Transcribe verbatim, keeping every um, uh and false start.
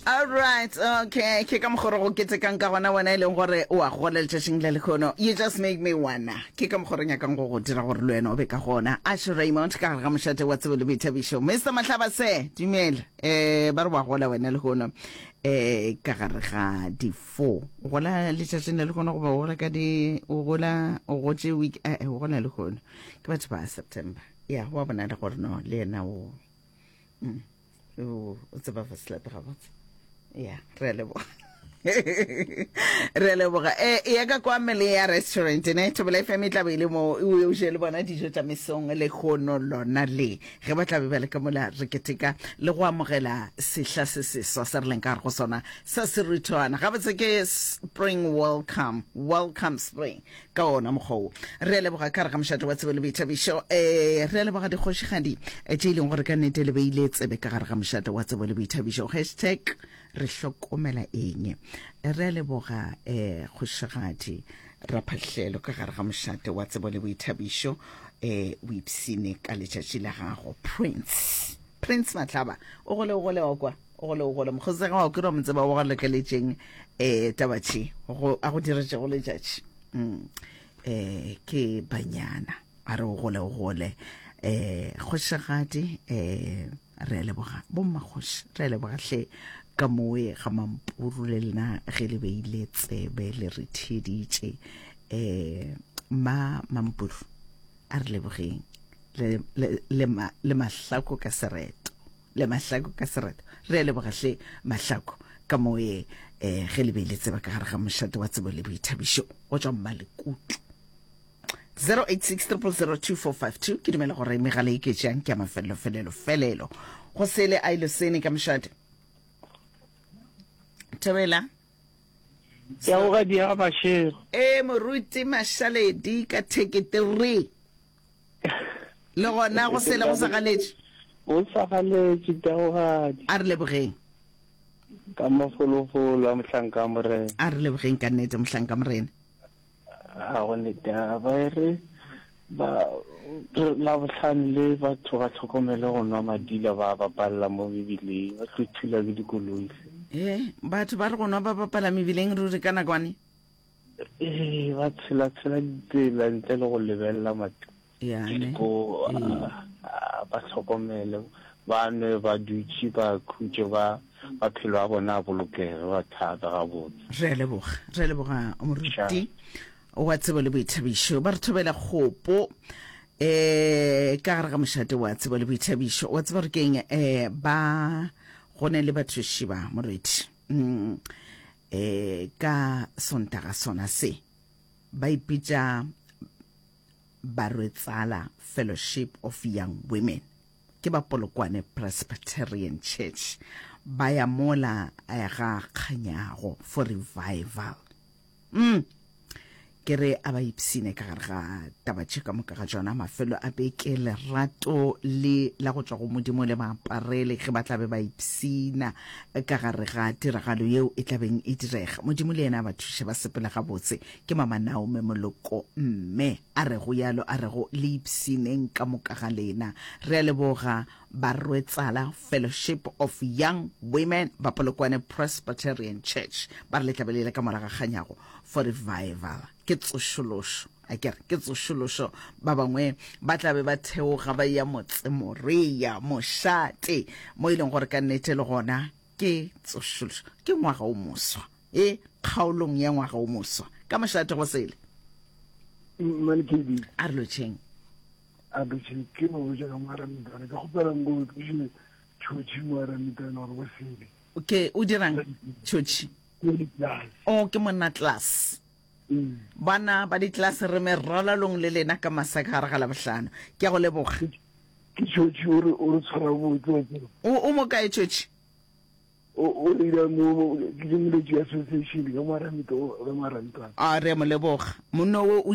All right, okay. Ke ka mokgwa re go ketekang ka gona wena e leng gore o a gola letšatšing le lekgono. You just make me wanna. Ke ka mokgwa re nyakang go go dira gore le wena o be ka gona. Asher Raymond ka gare ga mošate wa tsebo le boithabišo. Mister Mahlaba se, dumela. Eh, ba re wa gola wena lehono. Eh, ka gare ga di four. O gola letšatšing le lekgono goba o gola ka di o gola o gotše week eh, o gola lehono. Ke batho ba September. Ya, wa bona le gore no le yena o mm. O tseba fa selepe gabotse. Ya, re a leboga. Re a leboga. E ya ka kwa mele ya restaurant ne Thobela F M e tla be e le mo o o je le bona dijo tša mesong le kgono lona le ge ba tla be ba le ka mola re keteka le go amogela sehla se seswa se re leng ka gare go sona sa seruthwana. Gabotse ke spring welcome, welcome spring ka ona mokgwa wo. Re a leboga ka re ga mošate wa tsebo le boithabišo. Eh, re a leboga dikgošigadi tše e leng gore ka nnete le beile tsebe ka gare ga mošate wa tsebo le boithabišo. Hashtag re hlokomela eng. Re a leboga eh kgošigadi Raphahlelo ka gare ga mošate wa tsebo le boithabišo. Eh, o ipsine ka letšatši la gago Prince. Prince Mahlaba o gole o gole wa kwa o gole o gole mokgosega wa kura motseba wa go lekeletšeng eh tabatši go a go diretšego letšatši. Mm. Eh ke banyana a re o gole o gole eh kgošigadi eh re a leboga bommakgoši re a leboga hle ka moe ga mampuru le lena ge le beile tsebe le re theeditše eh ma mampuru a re lebogeng le le le, ma, le mahlako ka sereto le mahlako ka sereto re a leboga hle mahlako ka moe eh ge le beile tseba ka gare ga mošate wa tsebo le boithabišo go tšwa Mmalekutu zero eight six triple zero two four five two. Ke dumela gore megala e ketšang ke ya mafelelo felelo felelo go sele a ile sene ka mošate thobela ya go ga dia bašego e moruti Mašaledi ka theketeri le gona go sele go sa galetše o sa galetše taogadi a re lebogeng ka mafolofolo a mohlanka morena a re lebogeng ka nnete mohlanka morena a go netaba e re ba la bohlano le batho ba tlhokomele go nwa madila ba bapalla mo mebileng ba tlo thula ke dikoloi. E batho ba re go nwa ba bapala mebileng ruri ka nakwane ee ba tshela-tshela ditsela ntle le go lebelela matiko ba tlhokomele ba nwe ba dutše ba khutše ba maphelo a bona a bolokege ba thata gabotse. Re a leboga re a leboga moruti wa tsebo le boithabišo ba re thobela kgopo eh ka gare ga mošate wa tsebo le boithabišo wa tseba gore keng eh ba go ne le bathuši ba morwedi mm, eh ka sontaga sona se ba ipitša Barwetsala Fellowship of Young Women ke ba Polokwane Presbyterian Church ba ya mola ga Kganyago for revival mm ke re a ba ipsine ka gare ga taba tše ka moka ga tšona mafelo a beke lerato le la go tšwa go modimo le maaparele ge ba tla be ba ipsina ka gare ga tiragalo yeo e tlabeng e direga modimo le yena a ba thuše ba sepele gabotse ke mama Naomi Moloko mme a re go yalo a re go le ipsineng ka moka ga lena re a leboga Barwetsala Fellowship of Young Women ba Polokwane Presbyterian Church ba re le tlabe le ile ka moraga Kganyago for revival ke tsošološo a kere ke tsošološo ba bangwe ba tla be ba theoga ba ya motsemorea mošate mo e leng gore ka nnete le gona ke tsošološo ke ngwaga o moswa e kgaolong ya ngwaga o moswa ka mošate go sele a re lotšheng a lotšheng ke mo botša ka moaramitana ke kgopela ngo tliše tšhotšhi moaramitana gore bo sele okay o dirang tšhotšhi o ke monna class bana ba di-class re merolalong le lena ka masaka gare ga labohlano ke a go leboga ke tšhotšhi o re o re tshwara botse o mo kae tšhotšhi o ira mo ke moletši association ka moaramitana a re mo leboga monno o o